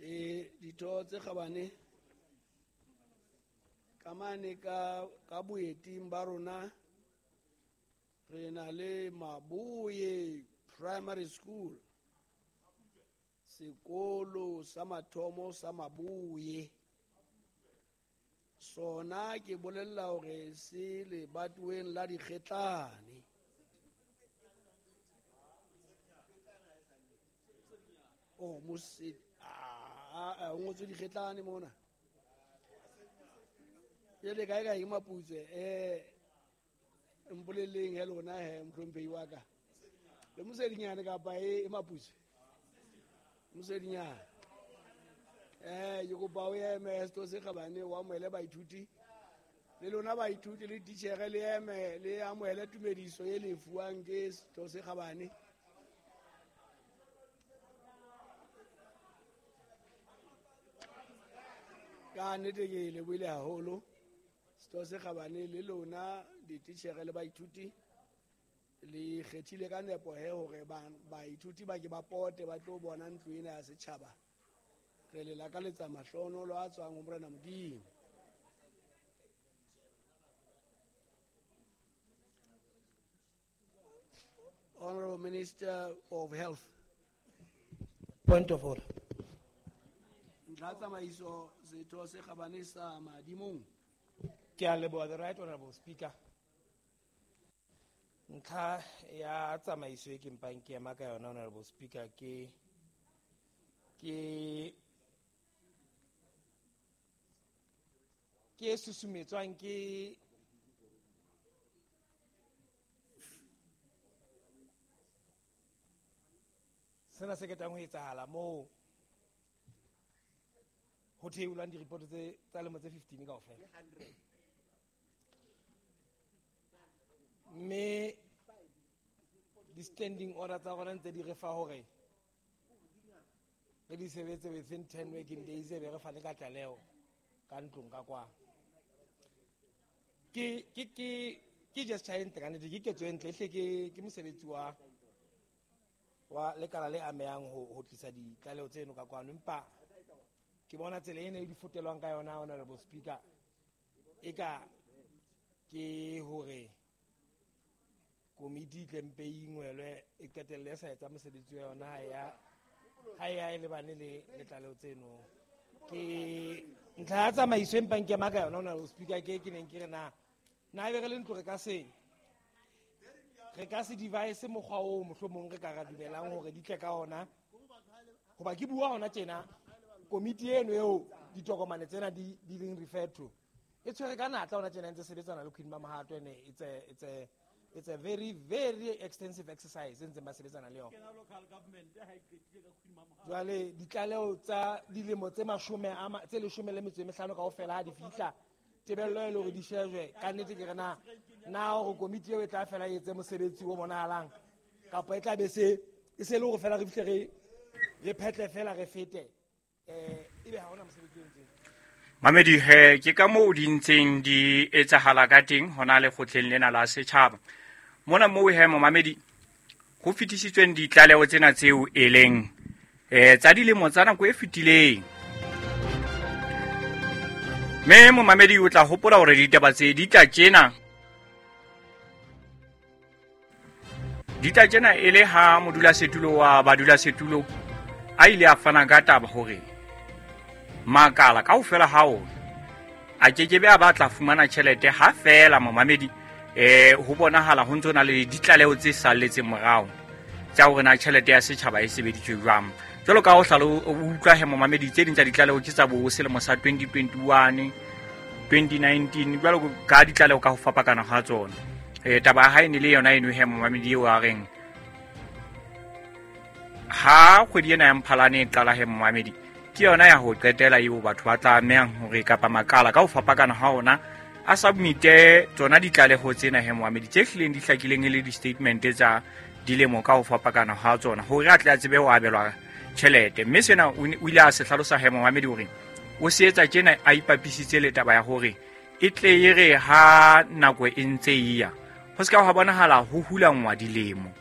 E ditho tse kgabane ka mane ka, ka boeting ba rona re na le Maboye Primary School, sekolo sa mathomo sa Maboye. Sona ke bolella hore se lebatoweng la Dikgetlane. Oh, mose, ah, ah, o ngotswe Dikgetlane mona. Jwale kae kae Maputswe, eh, mpolelleng he lona he mohlomphehi wa ka. Le Mosedinyane kapa e, e Maputswe? Mosedinyane. Eh, ke kopa o eme setho se kgabane, o amohele baithuti. Le lona baithuti le titjhere le eme, le amohele tumediso e le fuwang ke setho se kgabane. Ka nnete ke lebohile haholo setho se kgabane le lona dititjhere le baithuti le kgethile ka nepo he hore baithuti ba ke ba pote ba tlo bona ntlo ena ya setjhaba. Re le lakaletsa mahlohonolo a tswang ho Morena Modimo. Honorable Minister of Health. Point of order. Ntlha tsamaiso setho se kgabane sa Madimong. Ke a leboha, the Right Honorable Speaker. Ntlha ya tsamaiso e ke mpang ke ema ka yona, Honorable Speaker, ke ke ke susumetswang ke sena se ketang ho etsahala moo ho theolwang di-report tse tsa lemo tse fifteen kaofela. Mme di-standing order tsa rona ntse di re fa hore re di sebetse within ten working days, e be re fane ka tlaleho ka ntlong ka kwa. Ke ke ke ke gesture e ntle ka nnete, ke ketso e ntle, ehle ke ke mosebetsi wa wa lekala le amehang ho ho tlisa ditlaleho tseno ka kwano. Empa ke bona tsela ena e di fotelwang ka yona, Honorable Speaker, e ka ke hore komiti e tle mpe e ingwelwe e qetelle e sa etsa mosebetsi wa yona ha ya ha ya e lebane le le tlaleho tseno. Ke ntlha ya tsamaiso e mpang ke ema ka yona, Honorable Speaker, ke ke neng ke re na na ebe re le ntlo re ka se re ka se devise mokgwa oo mohlomong re ka ra dumelang hore di tle ka ona. Hoba ke bua hona tjena, komiti eno eo ditokomane tsena di di leng referred to e tshwere ka natla hona tjena, e ntse sebetsana le Queen Mamohato, ene it's a it's a it's a very very extensive exercise e ntseng ba sebetsana le yona. Jwale ditlaleho tsa dilemo tse mashome a ma, tse leshome le metso e mehlano kaofela ha di fihla, tebello e le hore di shejwe. Ka nnete ke re na na hore komiti eo e tla fela e etse mosebetsi o bonahalang, kapa e tla be se e se le hore fela re fihle re re phetle fela re fete, eh ebe ha hona mosebetsi o entseng. Mamedi he ke ka moo di ntseng di etsahala ka teng hona lekgotleng lena la setjhaba. Mona moo he momamedi ho fetisitsweng ditlaleho tsena tseo e leng eh tsa dilemo tsa nako e fetileng. Mme momamedi o tla hopola hore ditaba tse di tla tjena di tla tjena e le ha modulasetulo wa badulasetulo a ile a fana ka taba hore makala kaofela ha ona a kekebe a batla fumana tjhelete ha fela momamedi eh ho bonahala ho ntse na le ditlaleho tse salletseng morao tsa hore na tjhelete ya setjhaba e sebeditswe jwang. Jwalo ka ho hlalo o utlwa he momamedi tse ding tsa ditlaleho ke tsa bo selemo sa twenty twenty-one, twenty nineteen jwalo ka ditlaleho ka ho fapakana ha tsona. Eh taba ha e ne le yona eno he momamedi eo a reng ha kgwedi ena ya Mphalane e qala he momamedi ke yona ya ho qetela eo batho ba tlamehang hore kapa makala ka ho fapakana ha ona a submite tsona ditlaleho tsena he momamedi tse hlileng di hlakileng e le di-statement tsa dilemo ka ho fapakana ha tsona hore a tle a tsebe ho abelwa tjhelete. Mme sena o ile a se hlalosa he momamedi hore o se etsa tjena a ipapisitse le taba ya hore e tle e re ha nako e ntse e ya ho se ka ha bonahala ho hulangwa dilemo.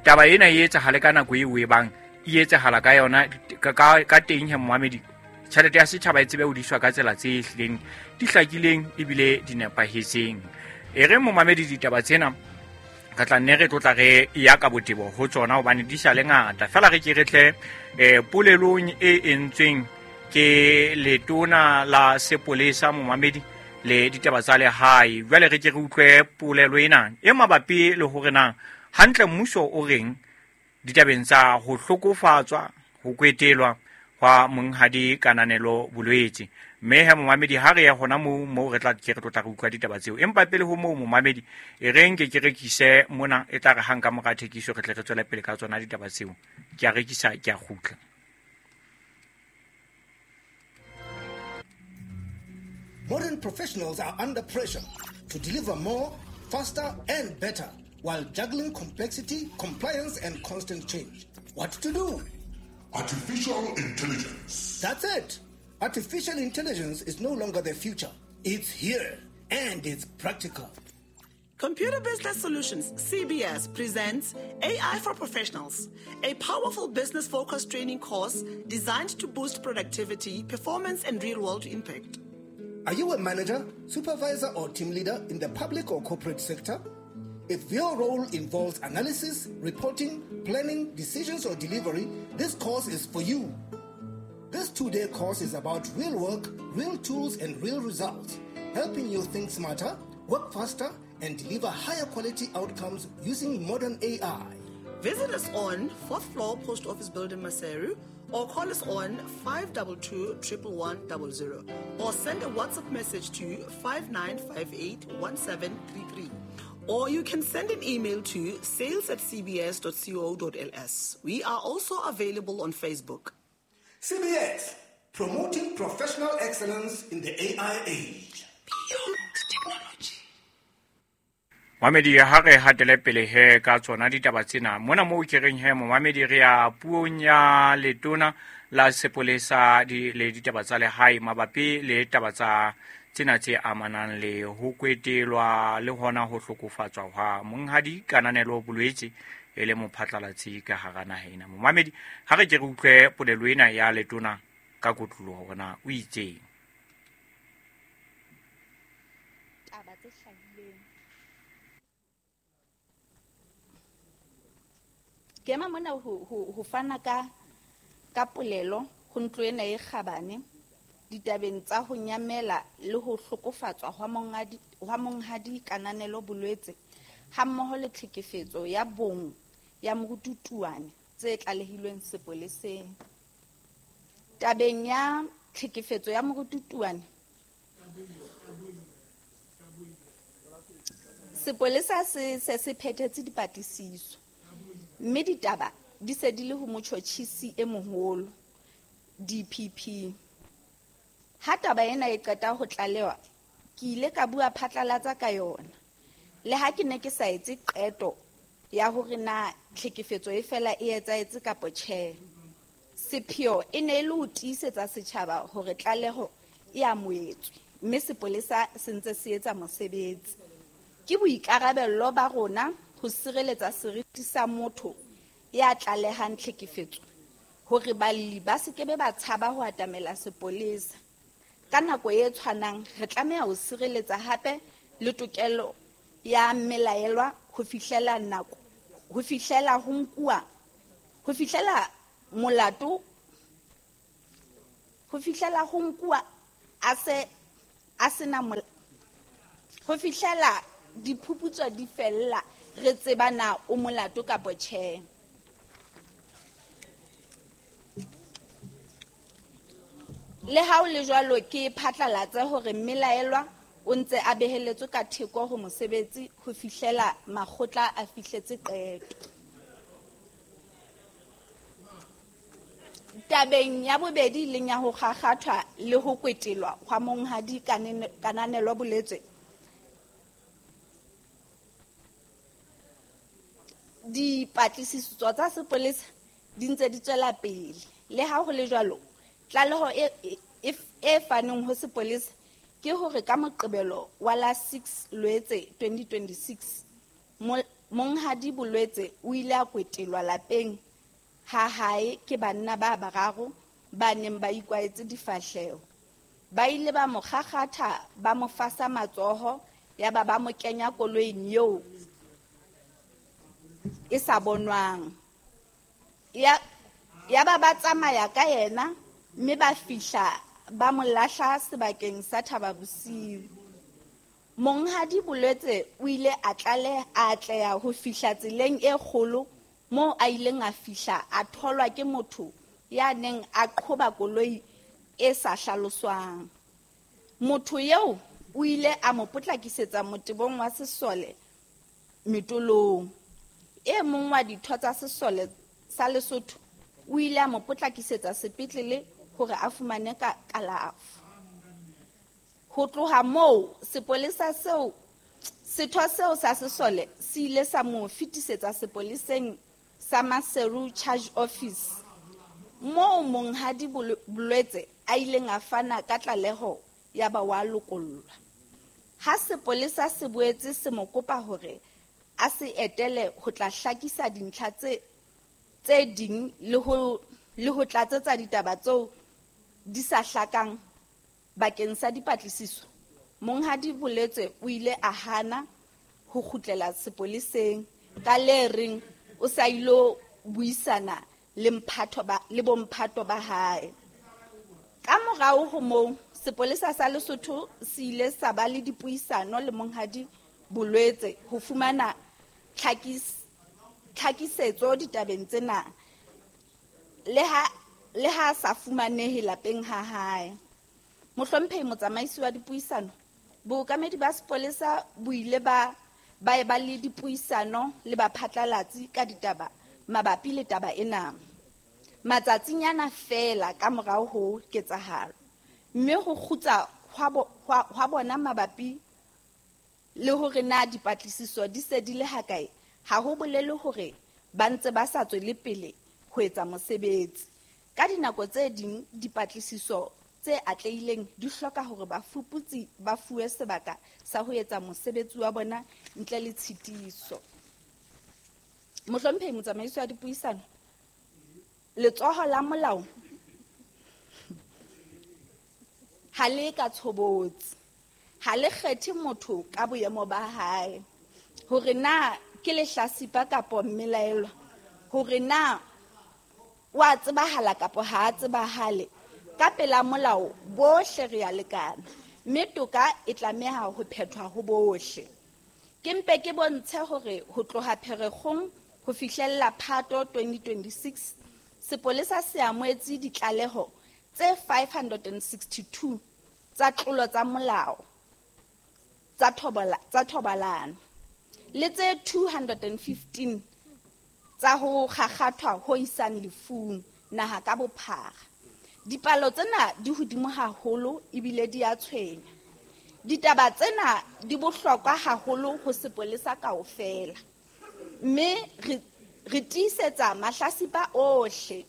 Taba ena e etsahale ka nako eo e bang e etsahala ka yona ka ka teng he momamedi tjhelete ya setjhaba e tsebe ho diswa ka tsela tse hlileng di hlakileng ebile di nepahetseng. E re momamedi ditaba tsena ka tla nne re tlotla re ya ka botebo ho tsona hobane di sa le ngata. Fela re ke re tle eh polelong e entsweng ke letona la sepolesa momamedi le ditaba tsa lehae. Jwale re ke re utlwe polelo ena e mabapi le hore na hantle mmuso o reng ditabeng tsa ho hlokofatswa ho kwetelwa hwa monghadi Kananelo Bolwetse. Mme he momamedi ha re ya hona moo moo re tla ke re tlotla re utlwa ditaba tseo. Empa pele ho moo momamedi e reng ke ke rekise mona e tla re hang ka mora thekiso re tle re tswele pele ka tsona ditaba tseo. Ke a rekisa ke a kgutla. Modern professionals are under pressure to deliver more, faster and better while juggling complexity, compliance and constant change. What to do? Artificial intelligence. That's it. Artificial intelligence is no longer the future. It's here and it's practical. Computer Business Solutions, C B S, presents A I for Professionals, a powerful business-focused training course designed to boost productivity, performance, and real-world impact. Are you a manager, supervisor, or team leader in the public or corporate sector? If your role involves analysis, reporting, planning, decisions, or delivery, this course is for you. This two-day course is about real work, real tools, and real results, helping you think smarter, work faster, and deliver higher quality outcomes using modern A I. Visit us on fourth floor Post Office Building, Maseru, or call us on five two two, one one one zero zero, or send a WhatsApp message to five nine five eight, one seven three three. Or you can send an email to sales at c b s dot co dot l s. We are also available on Facebook. C B S, promoting professional excellence in the A I age. Beyond technology. Mamedi ha re hatele pele he ka tsona ditaba tsena mona moo ke reng he momamedi re ya puong ya letona la sepolesa di le ditaba tsa lehae mabapi le taba tsa tsena tse amanang le ho kwetelwa le hona ho hlokofatswa hwa monghadi Kananelo Bolwetse e le mophatlalatsi ka hara naha ena. Momamedi ha re ke re utlwe polelo ena ya letona ka kotloloho hore na o itseng. Taba tse hlahileng ke ema mona ho ho ho fana ka ka polelo ho ntlo ena e kgabane ditabeng tsa ho nyamela le ho hlokofatswa hwa monghadi hwa monghadi Kananelo Bolwetse hammoho le tlhekefetso ya bong ya morututuane tse tlalehilweng sepoleseng. Tabeng ya tlhekefetso ya morututuane, sepolesa se se se phethetse dipatlisiso mme ditaba di se di le ho motjhotjhisi e moholo D P P. Ha taba ena e qeta ho tlalewa, ke ile ka bua phatlalatsa ka yona. Le ha ke ne ke sa etse qeto ya hore na tlhekefetso e fela e etsahetse kapa tjhe. Sepheo e ne e le ho tiisetsa setjhaba hore tlaleho e amohetswe mme sepolesa se ntse se etsa mosebetsi. Ke boikarabello ba rona ho sireletsa seriti sa motho ya tlalehang tlhekefetso hore balli ba se ke be ba tshaba ho atamela sepolesa. Ka nako e tshwanang re tlameha ho sireletsa hape le tokelo ya mmelaelwa ho fihlela nako ho fihlela ho nkuwa ho fihlela molato ho fihlela ho nkuwa a se a sena ho fihlela diphuputso di fella re tseba na o molato kapa tjhe. Le ha o le jwalo ke phatlalatse hore mmelaelwa o ntse a beheletswe ka theko ho mosebetsi ho fihlela makgotla a fihletse qeto. Tabeng ya bobedi leng ya ho kgakgathwa le ho kwetelwa hwa monghadi Kananelo Boletswe, dipatlisiso tsa sepolesa di ntse di tswela pele. Le ha ho le jwalo, tlaleho e, e, e faneng ho sepolesa ke hore ka Moqebelo wa la six Loetse twenty twenty-six, monghadi Bolwetse o ile a kwetelwa lapeng ha hae ke banna ba bararo ba neng ba ikwaetse difahleho. Ba ile ba mo kgakgatha, ba mo fasa matsoho, ya ba ba mo kenya koloing eo e sa bonwang. Ya, ya ba ba tsamaya ka yena mme ba fihla ba mo lahla sebakeng sa Thaba Bosiu. Monghadi Bolwetse o ile a tlale a atleha ho fihla tseleng e kgolo moo a ileng a fihla a tholwa ke motho ya neng a qhoba koloi e sa hlaloswang. Motho eo o ile a mo potlakisetsa motebong wa sesole Metolong. E mong wa ditho tsa sesole sa Lesotho o ile a mo potlakisetsa sepetlele hore a fumane ka kalafo. Ho tloha moo sepolesa seo setho seo sa sesole se ile sa mo fetisetsa sepoleseng sa Maseru Charge Office moo monghadi Bolwetse a ileng a fana ka tlaleho ya ba wa lokollwa. Ha sepolesa se boetse se mo kopa hore a se etele ho tla hlakisa dintlha tse tse ding le ho le ho tlatsetsa ditaba tseo di sa hlakang bakeng sa dipatlisiso, monghadi Bolwetse o ile a hana ho kgutlela sepoleseng ka le reng o sa ilo buisana le mphato ba le bomphato ba hae. Ka morao ho moo sepolesa sa Lesotho se ile sa ba le dipuisano le monghadi Bolwetse ho fumana tlhakis tlhakisetso ditabeng tsena le ha le ha sa fumanehe lapeng ha hae. Mohlomphehi motsamaisi wa dipuisano, bookamedi ba sepolesa bo ile ba ba eba le dipuisano le baphatlalatsi ka ditaba mabapi le taba ena matsatsinyana feela ka morao ho ketsahalo, mme ho kgutsa hwa bona mabapi le hore na dipatlisiso di se di le hakae ha ho bolele hore ba ntse ba sa tswele pele ho etsa mosebetsi. Ka dinako tse ding dipatlisiso tse atlehileng di hloka hore bafuputsi ba fuwe sebaka sa ho etsa mosebetsi wa bona ntle le tshitiso. Mohlomphehi motsamaisi wa dipuisano, letsoho la molao ha le ka tshobotsi, ha le kgethe motho ka boemo ba hae, hore na ke lehlasipa kapa mmelaelwa, hore na wa tsebahala kapa ha a tsebahale. Ka pela molao bohle re a lekana, mme toka e tlameha ho phethwa ho bohle. Ke mpe ke bontshe hore ho tloha Pherekgong ho fihlella Phato twenty twenty-six, sepolesa se amohetse ditlaleho tse five hundred sixty-two tsa tlolo tsa molao tsa thobola tsa thobalano le tse two hundred fifteen tsa ho kgakgathwa ho isang lefung naha ka bophara. Dipalo tsena di hodimo haholo ebile di a tshwenya. Ditaba tsena di bohlokwa haholo ho sepolesa kaofela, mme re re tiisetsa mahlasipa ohle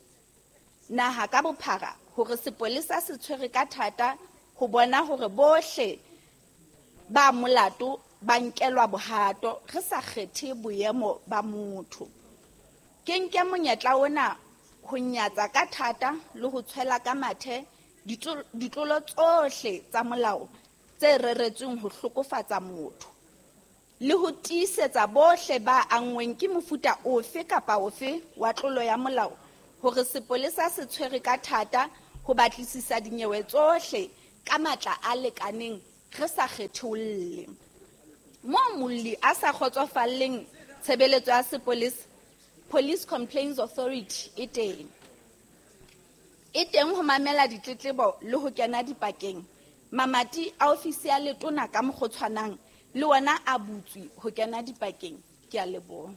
naha ka bophara hore sepolesa se tshwere ka thata ho bona hore bohle ba molato ba nkelwa bohato re sa kgethe boemo ba motho. Ke nke monyetla ona ho nyatsa ka thata le ho tshwela ka mathe ditlolo tsohle tsa molao tse reretsweng ho hlokofatsa motho le ho tiisetsa bohle ba anngweng ke mofuta ofe kapa ofe wa tlolo ya molao hore sepolesa se tshwere ka thata ho batlisisa dinyewe tsohle ka matla a lekaneng re sa kgetholle. Moo molli a sa kgotsofalleng tshebeletso ya sepolesa, Police Complaints Authority e teng. E teng ho mamela ditletlebo le ho kena dipakeng. Mamati a ofisi ya letona ka mokgotshwanang le wona a butswe ho kena dipakeng. Ke a leboha.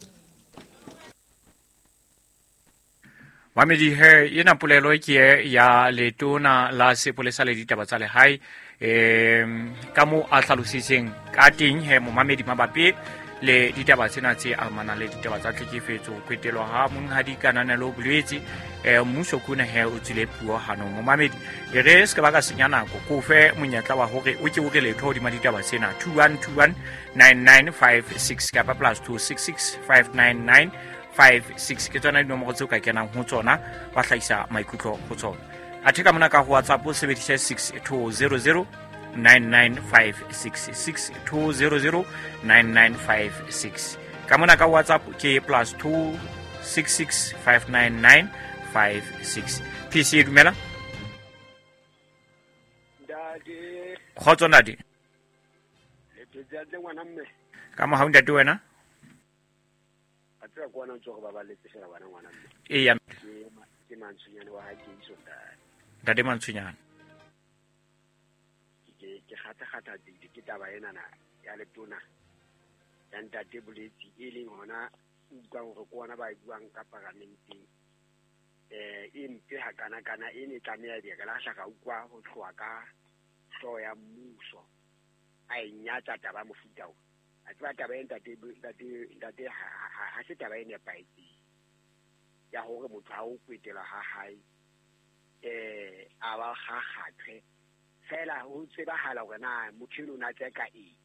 Mamedi he ena polelo ke ya letona la sepolesa le ditaba tsa lehae em ka mo a hlalositseng ka teng he momamedi mabapi le ditaba tsena tse amanang le ditaba tsa tlhekefetso kwetelwa ha monghadi Kananelo Bolwetse eh mmuso kuna he o tsile puo hanong momamedi e re se ka ba ka senya nako ko fe monyetla wa hore o ke o re letho hodima ditaba tsena two one two one nine nine five six kapa plus two six six five nine nine five six ke tsona dinomoro tseo ka kenang ho tsona ba hlahisa maikutlo ho tsona. Athe ka mona ka ho WhatsApp o sebedise six two zero zero nine nine five six six two zero zero nine nine five six. Ka mona ka WhatsApp ke plus two six six five nine nine five six. P C dumela. Ntate. Kgotso ntate. Le phetse hantle ngwana mme. Ka mohau ntate wena? A tseba kwana ntse go babaletse fela bana ngwana mme. Eya. Ke Mantshonyane wa ha Keiso ntate. Ntate Mantshonyane. Ke ke kgata kgata dile ke taba ena na ya letona ya ntate Bolwetse e leng hona utlwang hore ke ona ba e buang ka paramenteng eh e mpe ha kana kana e ne tlameha di ka lahla ka utlwa ho tloha ka hlooho ya mmuso a e nyatsa taba mofuta o a tseba taba e ntate ntate ntate ha se taba e nepahetseng ya hore motho ha o kwetela ha hae eh a ba kgakgathwe fela ho tsebahala hore na motho eno o na tseka eng.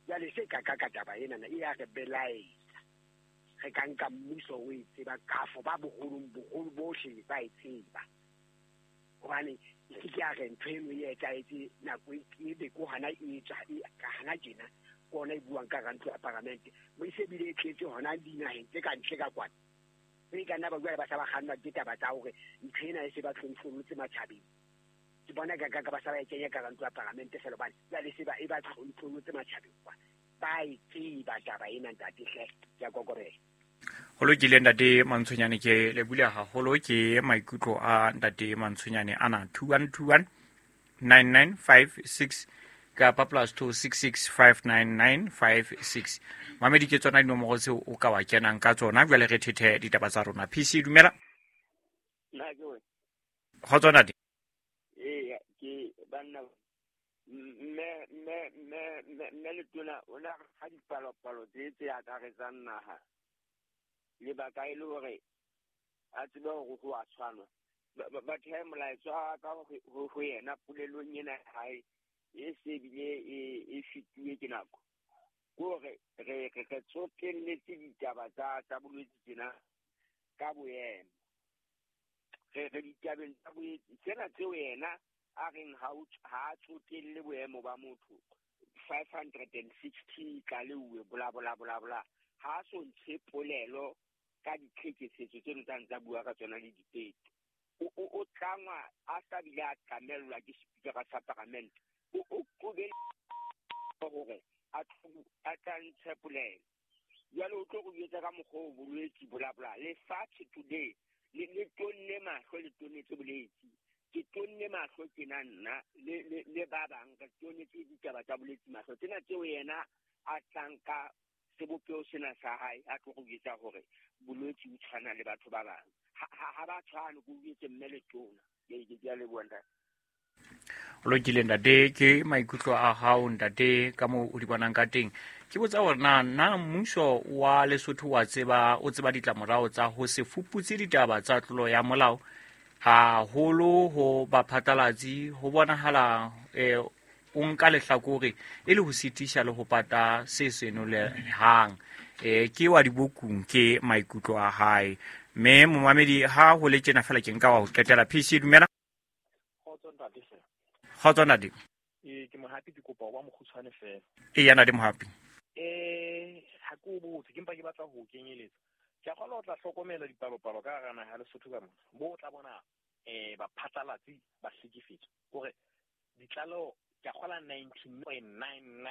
Jwale se ka ka ka taba ena e ya re belaetsa re ka nka mmuso o e tseba kafo ba boholong boholo bohle ba e tseba hobane ke ke a re ntho eno e etsahetse nako e be ko hana e tswa ka hana tjena ke ona e buang ka ntlo ya paramente mo e se bile e tletse hona dinaheng tse ka ntle ka kwana e ka nna ba bua ba sa ba kgannwa ke taba tsa hore ntho ena e se ba tlontlolotse matjhabeng. Ke bona ka ka ba sa ba e kenya ka ntlo ya paramente fela hobane jwale se ba e ba tlontlolotse matjhabeng kwa ba e tseba taba ena ntate hle ke a kokobela. Ho lokile ntate Mantshonyane ke le bula haholo ke maikutlo a ntate Mantshonyane ana two one two one nine nine five six kapa plus two six six five nine nine five six. Mamedi ke tsona dinomoro tseo o ka wa kenang ka tsona jwale re thethe ditaba tsa rona. P C dumela. Nna ke wena. Kgotso ntate. Ee ke banna mme mme mme mme letona o na ha dipalopalo tse tse akaretsang naha lebaka e le hore a tsebe hore ho a tshwanwa batho ha molaetsa ka ho yena polelong ena hae e se bile e fituwe ke nako ke hore re re tsotelletse ditaba tsa tsa bolwetse tsena ka boemo re re ditabeng tsa bolwetse tsena tseo yena a reng ha ha tsotelle boemo ba motho five hundred sixty ka leuwe bla bla bla bla ha so ntshe polelo ka ditlhekefetso tseno tsa ntsa bua ka tsona le dipeto o o tlangwa a sa bile a tlamellwa ke speaker sa parliament o o qobele hore a a tla ntshe polelo jwale o tlo go etsa ka mokgwa o bolwetse bla bla lefatshe today le le tonne mahlo le tonetse bolwetse ke tonne mahlo tjena nna le le le ba bang re tonetse ditaba tsa bolwetse mahlo tsena tseo yena a tlang ka sebopeho sena sa hae a tlo go etsa hore bolwetse o tshwana le batho ba bang ha ba tshwane go etse mme le tona ke ke a leboha ntate. O lokile ntate ke maikutlo a hao ntate ka moo o di bonang ka teng. Ke botsa hore na na mmuso wa Lesotho wa tseba o tseba ditlamorao tsa ho se fuputse ditaba tsa tlolo ya molao haholo ho baphatlalatsi ho bonahala eh o nka lehlakore e le ho sitisha le ho pata se senolehang eh ke wa dibokung ke maikutlo a hae. Mme momamedi ha ho le tjena fela ke nka wa ho qetela. P C dumela. Kgotso ntate hle. Kgotso ntate. Eh ke Mohapi, ke kopa ho ba mokgutshwane fela. E yana di Mohapi. Eh ha ke o botse, ke mpa ke batla ho kenyeletsa. Ke a kgolwa o tla hlokomela dipalopalo ka hara naha ya Lesotho ka mona. Bo o tla bona eh baphatlalatsi ba hlekefetswa. Hore ditlaleho ke a kgolwa ninety point nine nine